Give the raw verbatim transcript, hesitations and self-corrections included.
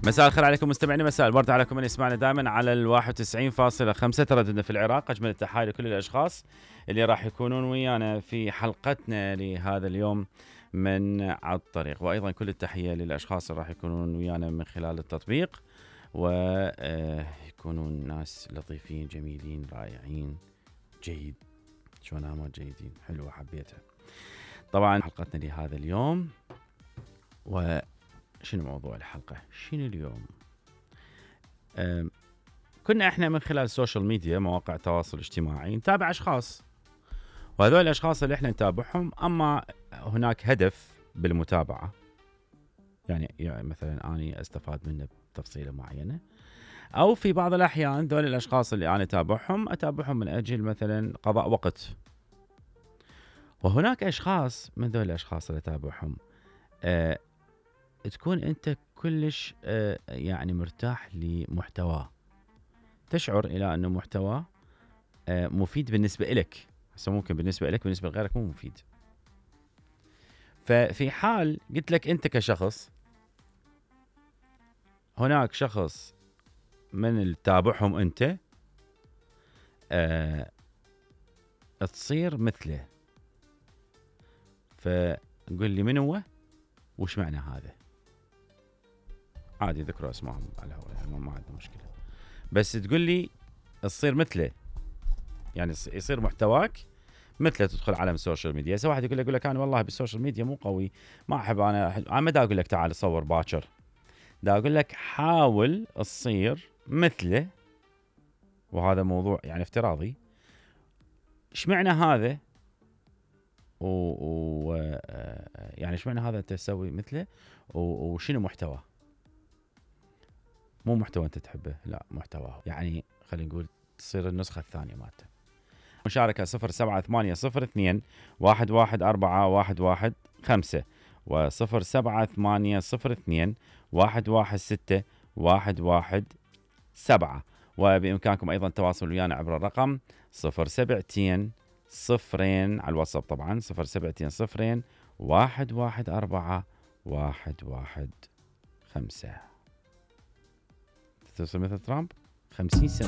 مساء الخير عليكم مستمعينا، مساء الورد عليكم من يسمعنا دائما على الواحد وتسعين فاصلة خمسة ترددنا في العراق. أجمل التحايا لكل الأشخاص اللي راح يكونون ويانا في حلقتنا لهذا اليوم من على الطريق، وأيضا كل التحية للأشخاص اللي راح يكونون ويانا من خلال التطبيق ويكونون ناس لطيفين جميلين رائعين جيد. شو نامات جيدين، حلوة حبيتها. طبعا حلقتنا لهذا اليوم، وشنو موضوع الحلقة؟ شنو اليوم؟ كنا احنا من خلال السوشيال ميديا، مواقع التواصل الاجتماعي، نتابع اشخاص، وهذول الاشخاص اللي احنا نتابعهم اما هناك هدف بالمتابعة، يعني, يعني مثلا اني استفاد منه بتفصيلة معينة، او في بعض الاحيان ذول الاشخاص اللي انا اتابعهم اتابعهم من اجل مثلا قضاء وقت. وهناك اشخاص من ذول الاشخاص اللي اتابعهم أه تكون انت كلش أه يعني مرتاح لمحتواه، تشعر الى انه محتواه أه مفيد بالنسبة لك، هسه ممكن بالنسبة لك بالنسبة لغيرك مو مفيد. ففي حال قلت لك انت كشخص، هناك شخص من اللي تتابعهم انت أه تصير مثله، فقل لي من هو وش معنى هذا. عادي ذكروا اسمائهم على الهواء، يعني ما عندنا مشكلة، بس تقول لي تصير مثله، يعني يصير محتواك مثله، تدخل عالم السوشيال ميديا. سواء واحد يقول لك يقول لك انا والله بالسوشيال ميديا مو قوي، ما احب انا انا ما دا اقول لك تعال صور باكر، دا اقول لك حاول تصير مثله، وهذا موضوع يعني افتراضي. ايش معنى هذا؟ و, و... يعني ايش معنى هذا انت تسوي مثله، وشنو محتواه؟ مو محتوى انت تحبه، لا محتواه، يعني خلينا نقول تصير النسخة الثانية مالته. مشاركة صفر سبعة ثمانية صفر اثنين واحد واحد أربعة واحد واحد خمسة وصفر سبعة ثمانية صفر اثنين واحد واحد ستة واحد واحد سبعة. وبإمكانكم أيضا التواصل ويانا عبر الرقم صفر سبعتين صفرين على الواتساب، طبعا صفر سبعتين صفرين واحد واحد أربعة واحد واحد خمسة. تصير مثل ترامب خمسين سنة